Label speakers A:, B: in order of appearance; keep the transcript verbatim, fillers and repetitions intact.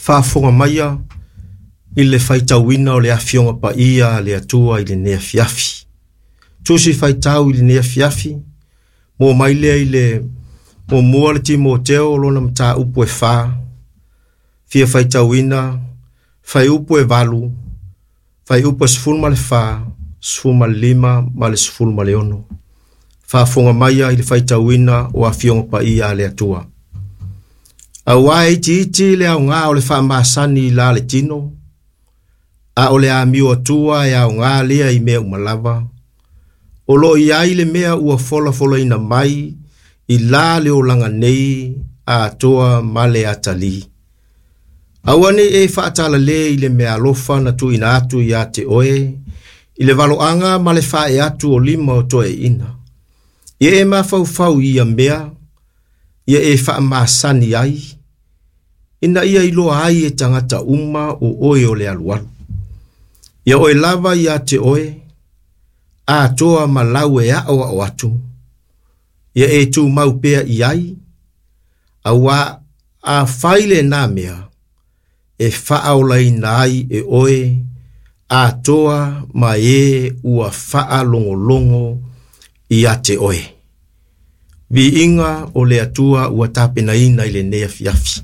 A: Faafofoga maia i le faitauina o le Afioga Paia a le Atua i lenei afiafi. Tusi faitau i lenei afiafi, mo mai lea i le muamua le Timoteo lona mataupu e fa, fia faitauina, fuaiupu e valu, fuaiupu e sefulu ma le fa, sefulu ma le lima ma le sefulu ma le ono. Faafofoga maia i le faitauina o Afioga Paia a le Atua. Auā e itiiti le aogā o le faamasani i la le tino, a o le amio atua e aogā lea i mea uma lava. O lo o i ai le mea ua folafolaina mai i la le olaga nei atoa ma le atalii. Aua ne i e faatalale i le meaalofa na tuuina atu ia te oe i le valoaga ma le faaee atu o lima o toeaiina. Ia e mafaufau i ia mea, ia e faamasani ai, ina ia iloa ai e tagata uma o oe o le alualu. Ia oe lava ia te oe, atoa ma lau e aoao atu, ia e tumau pea i ai, auā a fai lenā mea, e faaolaina ai e oe, atoa ma e ua faalogologo ia te oe. Viiga o le Atua ua tapenaina i lenei afiafi.